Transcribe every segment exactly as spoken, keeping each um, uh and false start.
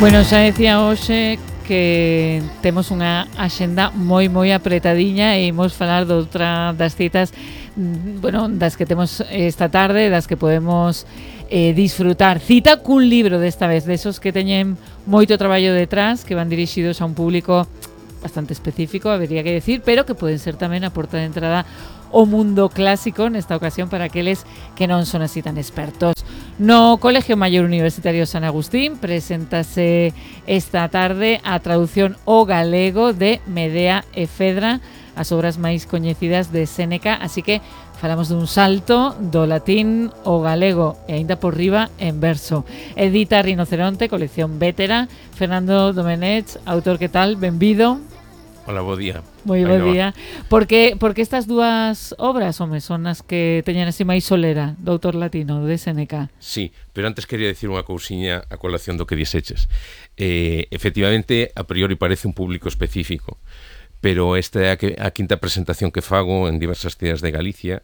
Bueno, xa decía hoxe que temos unha axenda moi moi apretadiña e imos falar de outra das citas, bueno, das que temos esta tarde, das que podemos eh, disfrutar. Cita cun libro desta vez, desos que teñen moito traballo detrás, que van dirixidos a un público bastante específico, habería que decir, pero que poden ser tamén a porta de entrada o mundo clásico, nesta ocasión para aqueles que non son así tan expertos. No Colegio Maior Universitario San Agustín preséntase esta tarde a traducción ao galego de Medea e Fedra, as obras máis coñecidas de Séneca, así que falamos dun salto do latín ao galego e aínda por riba en verso. Edita Rinoceronte, colección Vétera. Fernando Domenech, autor, que tal? Benvido. Hola, bo día. Moi bo día. Por que, por que estas dúas obras, home, son as que teñen así máis solera do autor latino, de Séneca? Sí, pero antes quería decir unha cousiña a colación do que dixeches. Eh, efectivamente, a priori parece un público específico, pero esta é a, que, a quinta presentación que fago en diversas cidades de Galicia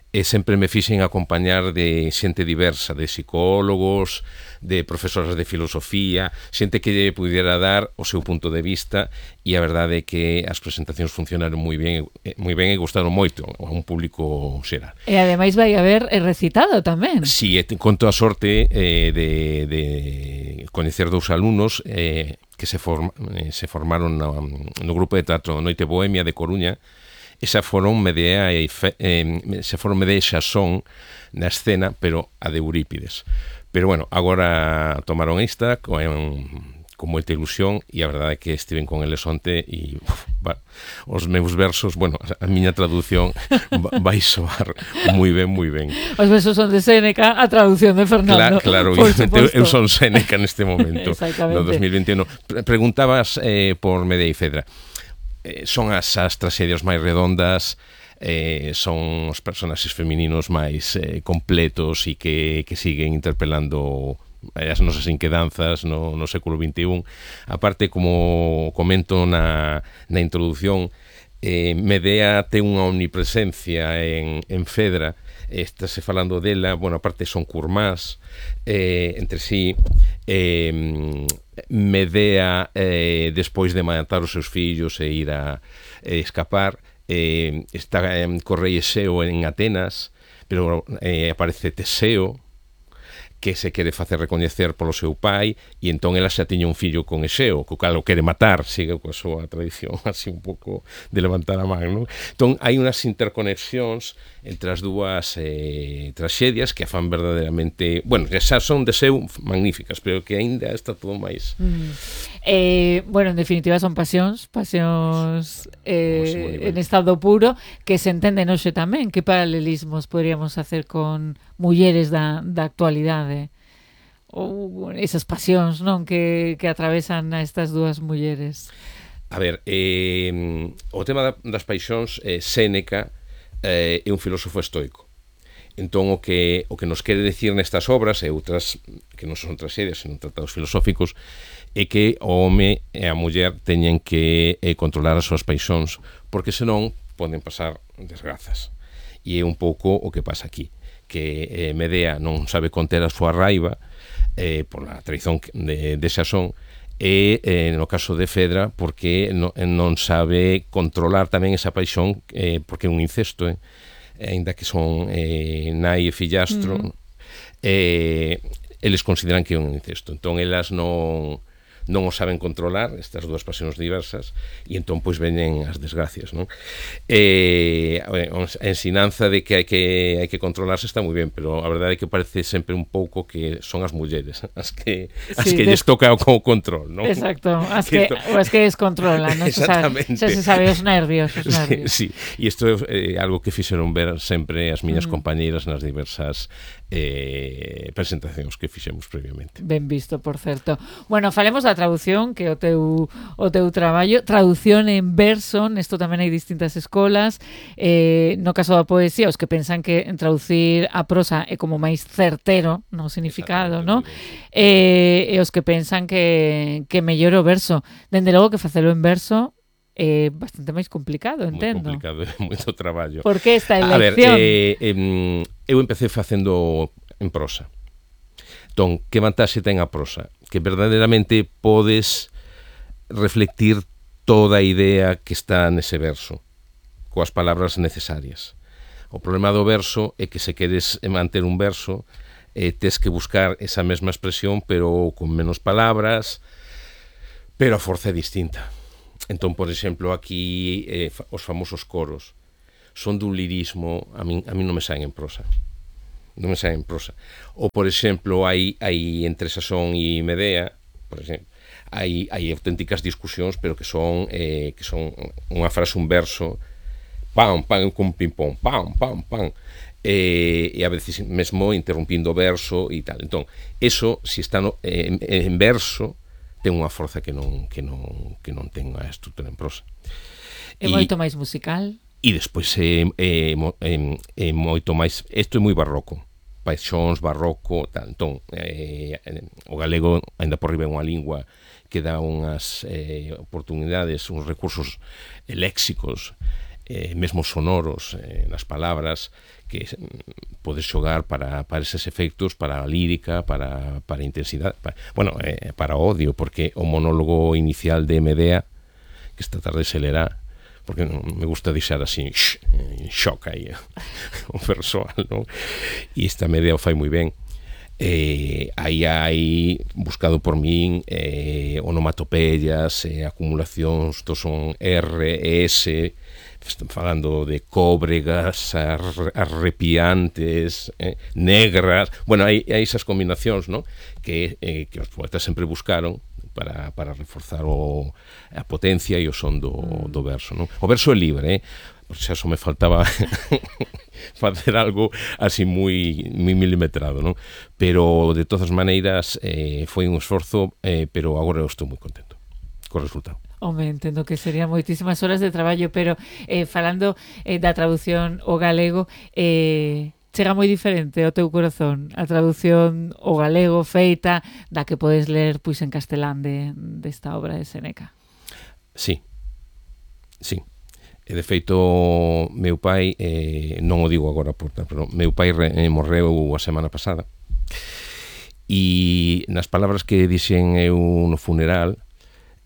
e sempre me fixen acompañar de xente diversa, de psicólogos, de profesoras de filosofía, xente que lle pudiera dar o seu punto de vista, e a verdade é que as presentacións funcionaron moi ben, moi ben e gustaron moito a un público xeral. E ademais vai haber recitado tamén. Si, sí, conto a sorte eh, de, de coñecer dous alumnos eh, que se, form, eh, se formaron no, no grupo de teatro Noite Bohemia de Coruña. Esa foron Medea e Fe, eh, se foron Medea e Xasón na escena, pero a de Eurípides. Pero bueno, agora tomaron esta con, con moita ilusión, e a verdade é que estiven con eles onte e uf, va, os meus versos, bueno, a miña traducción vai soar moi ben, moi ben. Os versos son de Séneca, a traducción de Fernando. Claro, claro, eu son Séneca neste momento, no dos mil veintiuno. Preguntabas eh, por Medea e Fedra. Eh, son as, as tragedias máis redondas, eh, son os personaxes femininos máis eh, completos e que, que siguen interpelando as nosas inquedanzas no, no século veintiún. Aparte, como comento na, na introdución, eh, Medea ten unha omnipresencia en, en Fedra. Estase falando dela, bueno, aparte son curmás eh, entre sí. eh, Medea, eh, despois de matar os seus fillos e ir a eh, escapar, eh, está eh, co rei Exeo en Atenas, pero eh, aparece Teseo, que se quere facer recoñecer polo seu pai, e entón ela xa tiña un fillo con Exeo, co cal o quere matar, sigue coa súa tradición así un pouco de levantar a man, non? Entón hai unhas interconexións entre as dúas eh, tragedias que a fan verdadeiramente, bueno, xa son de seu magníficas, pero que aínda está todo máis. Mm. Eh, bueno, en definitiva son pasións, pasións eh, en estado puro, que se entenden hoxe tamén. Que paralelismos poderíamos hacer con mulleres da, da actualidade? Ou esas pasións, non, que, que atravesan a estas dúas mulleres? A ver, eh, o tema da, das paixóns, eh, Séneca eh, é un filósofo estoico. Entón, o que, o que nos quere decir nestas obras e outras que non son tragedias, senón tratados filosóficos, é que o home e a muller teñen que eh, controlar as súas paixóns, porque senón poden pasar desgrazas. E é un pouco o que pasa aquí, que eh, Medea non sabe conter a súa raiva eh, por a traición de, de Xasón, e eh, no caso de Fedra porque no, non sabe controlar tamén esa paixón, eh, porque é un incesto, eh, ainda que son eh, nai e fillastro, mm. eh, eles consideran que é un incesto, entón elas non non o saben controlar, estas dúas pasións diversas, e entón pois veñen as desgracias, non? Eh, a ensinanza de que hai que hai que controlarse está moi ben, pero a verdade é que parece sempre un pouco que son as mulleres as que as sí, que lles toca o control, non? Exacto, as que, que as que descontrolan, non se sabe, xa se sabe os nervios, os nervios. Sí, sí, e isto é eh, algo que fixeron ver sempre as miñas mm. compañeiras nas diversas eh, presentacións que fixemos previamente. Ben visto, por certo. Bueno, falemos da traducción, que o teu o teu traballo, traducción en verso, nesto tamén hai distintas escolas. Eh, no caso da poesía, os que pensan que en traducir a prosa é como máis certero no significado, ¿no? Eh, e os que pensan que que mellor o verso. Dende logo que facelo en verso é bastante máis complicado, entendo. Moi complicado, é moito traballo. Por que esta elección? A ver, eh, eh, eu empecé facendo en prosa. Entón, que vantaxe ten a prosa? que verdadeiramente podes reflectir toda a idea que está nese verso, coas palabras necesarias. O problema do verso é que se queres manter un verso, eh, tes que buscar esa mesma expresión, pero con menos palabras, pero a forza é distinta. Entón, por exemplo, aquí eh, os famosos coros son dun lirismo, a min, a min non me saen en prosa. Non me saen en prosa. Ou, por exemplo, hai, hai entre Sasón e Medea, por exemplo, hai, hai auténticas discusións, pero que son, eh, que son unha frase, un verso, pam, pam, con ping-pong, pam, pam, pam, e, e a veces mesmo interrumpindo o verso e tal. Entón, eso, se está no, en, en verso, ten unha forza que non, que non, que non ten a estrutura en prosa. É moito máis musical? E despois é, é, é, é moito máis, isto é moi barroco, paixóns, barroco, tal. Entón, eh, o galego, ainda por riba, é unha lingua que dá unhas eh, oportunidades, uns recursos eh, léxicos, eh, mesmo sonoros eh, nas palabras, que mm, podes xogar para, para eses efectos, para a lírica, para, para a intensidade, para, bueno, eh, para o odio, porque o monólogo inicial de Medea, que esta tarde se lerá, porque me gusta deixar así en shock aí o persoal, non? E esta Medea o fai moi ben. Eh, aí hai buscado por min eh, onomatopeyas, eh, acumulacións do son R, S, están falando de cóbregas, ar, arrepiantes, eh, negras, bueno, hai, hai esas combinacións, ¿no? que, eh, que os poetas sempre buscaron para, para reforzar o, a potencia e o son do, do verso, ¿no? O verso é libre, eh? Por xa só me faltaba facer algo así moi, moi milimetrado, non? Pero, de todas maneiras, eh, foi un esforzo, eh, pero agora eu estou moi contento co resultado. Home, entendo que serían moitísimas horas de traballo, pero eh, falando eh, da traducción ao galego, eh, chega moi diferente ao teu corazón a traducción ao galego feita da que podes ler pois en castelán de, desta obra de Séneca. Sí, sí. E de feito, meu pai, eh, non o digo agora, pero meu pai re, eh, morreu a semana pasada. E nas palabras que dixen eu no funeral,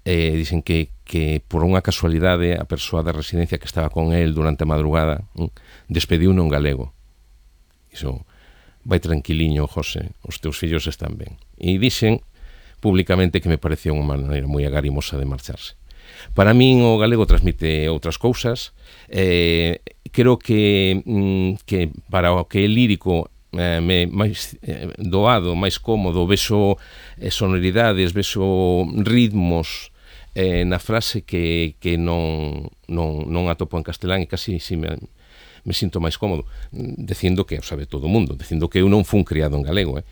eh, dixen que, que por unha casualidade a persoa da residencia que estaba con el durante a madrugada hm, despediu en galego. Iso, vai tranquiliño, José, os teus fillos están ben. E dixen públicamente que me parecía unha maneira moi agarimosa de marcharse. Para min o galego transmite outras cousas, eh, creo que, mm, que para o que é lírico eh, me, máis eh, doado, máis cómodo, vexo eh, sonoridades, vexo ritmos eh, na frase que, que non, non, non atopo en castelán e casi si me, me sinto máis cómodo, dicindo que o sabe todo o mundo, dicindo que eu non fun criado en galego, eh.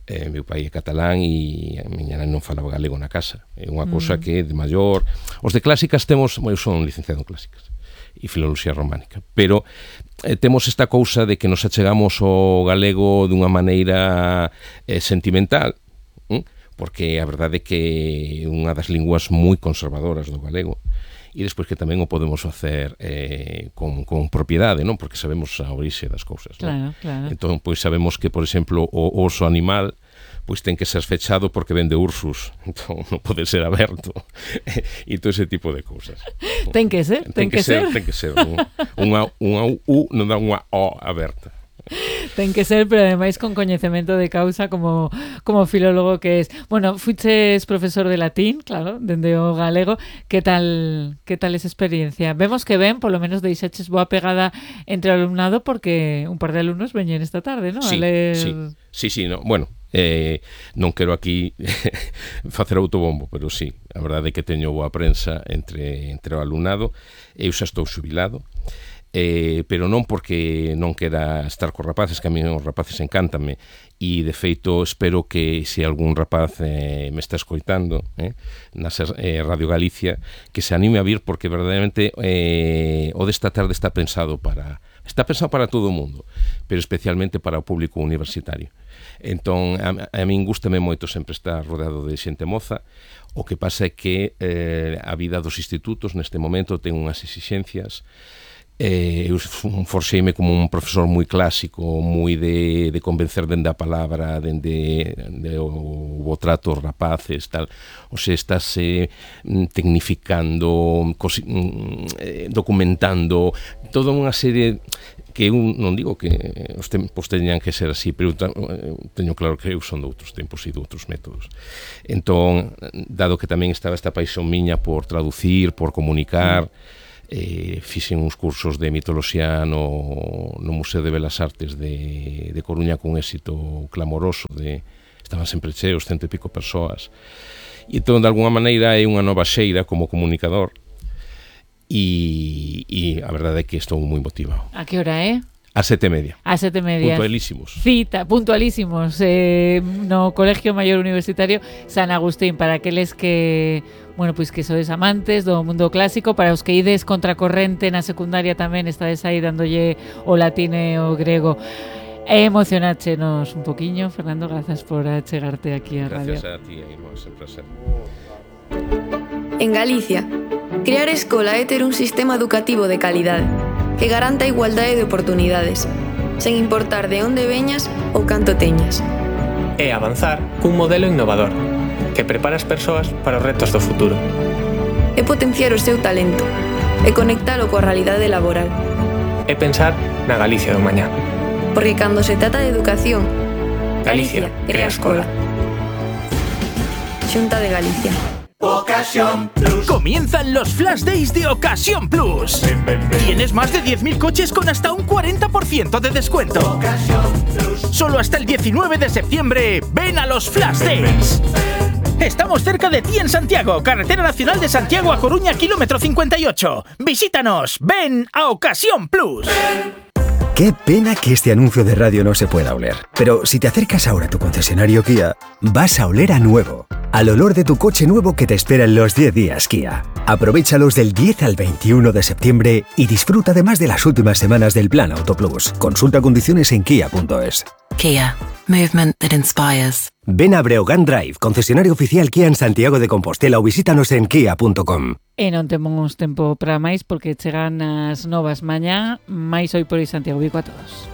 Eh, meu pai é catalán e a miña nai non falaba galego na casa. É unha cousa mm. que de maior... Os de clásicas temos... Eu son licenciado en clásicas e filoloxía románica, pero eh, temos esta cousa de que nos achegamos ao galego dunha maneira eh, sentimental, hm? Porque a verdade é que é unha das linguas moi conservadoras do galego, e despois que tamén o podemos facer eh, con, con propiedade, non? Porque sabemos a orixe das cousas, non? Claro, claro. Entón, pois sabemos que, por exemplo, o oso animal pois ten que ser fechado porque vende Ursus, entón non pode ser aberto e todo ese tipo de cousas. Ten que ser, ten, ten que, que ser. ser. Ten que ser, unha, unha U non dá unha O aberta. Ten que ser, pero ademais con coñecemento de causa como, como filólogo que es. Bueno, fuches profesor de latín, claro, dende o galego. Que tal que tal esa experiencia? Vemos que ben, polo menos deixaches boa pegada entre o alumnado porque un par de alumnos veñen esta tarde, non? Sí, a ler... sí, sí, sí, no, bueno, eh, non quero aquí facer autobombo, pero sí, a verdade é que teño boa prensa entre, entre o alumnado. Eu xa estou xubilado, Eh, pero non porque non quera estar cos rapaces, que a mí os rapaces encántame, e de feito espero que se algún rapaz eh, me está escoitando eh, na eh, Radio Galicia, que se anime a vir, porque verdadeiramente eh, o desta tarde está pensado para está pensado para todo o mundo, pero especialmente para o público universitario. Entón, a, a min gústame moito sempre estar rodeado de xente moza. O que pasa é que eh, a vida dos institutos neste momento ten unhas exixencias Eh, eu forxeime como un profesor moi clásico, moi de, de convencer dende a palabra, dende de o, o trato os rapaces, tal. O sea, estás eh, tecnificando, cosi, eh, documentando, toda unha serie que eu non digo que os tempos teñan que ser así, pero teño claro que eu son de outros tempos e de outros métodos. Entón, dado que tamén estaba esta paixón miña por traducir, por comunicar, Eh, fixen uns cursos de mitoloxía no, no Museo de Belas Artes de, de Coruña con éxito clamoroso, de, estaban sempre cheos, cento e pico persoas, e entón de alguna maneira é unha nova xeira como comunicador, e, e a verdade é que estou moi motivado. A que hora é? A sete e media. A sete e media. Puntualísimos. Cita, puntualísimos. Eh, no Colegio Maior Universitario San Agustín, para aqueles que, bueno, pois que sodes amantes do mundo clásico, para os que ides contracorrente na secundaria tamén, estades aí dándolle o latín e o grego. E emocionáchenos un poquiño, Fernando, grazas por achegarte aquí a radio. Gracias a ti, Irma, sempre a ser. En Galicia, crear escola é ter un sistema educativo de calidade que garanta a igualdade de oportunidades, sen importar de onde veñas ou canto teñas. E avanzar cun modelo innovador que prepara as persoas para os retos do futuro. É potenciar o seu talento e conectalo coa realidade laboral. É pensar na Galicia do mañá. Porque cando se trata de educación, Galicia, Galicia crea escola. Xunta de Galicia. Ocasión Plus. Comienzan los Flash Days de Ocasión Plus. Ven, ven, ven. Tienes más de diez mil coches con hasta un cuarenta por ciento de descuento. Ocasión Plus. Solo hasta el diecinueve de septiembre. Ven a los Flash Days. Estamos cerca de ti en Santiago, Carretera Nacional de Santiago a Coruña, kilómetro cincuenta y ocho. Visítanos. Ven a Ocasión Plus. Ven. Qué pena que este anuncio de radio no se pueda oler. Pero si te acercas ahora a tu concesionario Kia, vas a oler a nuevo. Al olor de tu coche nuevo que te espera en los diez días Kia. Aprovéchalos del diez al veintiuno de septiembre y disfruta además de las últimas semanas del Plan Auto Plus. Consulta condiciones en kia punto es. Kia. Movement that inspires. Ven a Breogán Drive, concesionario oficial Kia en Santiago de Compostela, ou visítanos en kia punto com. E non temos tempo para máis porque chegan as novas mañá, máis hoy por hoy Santiago. Bico a todos.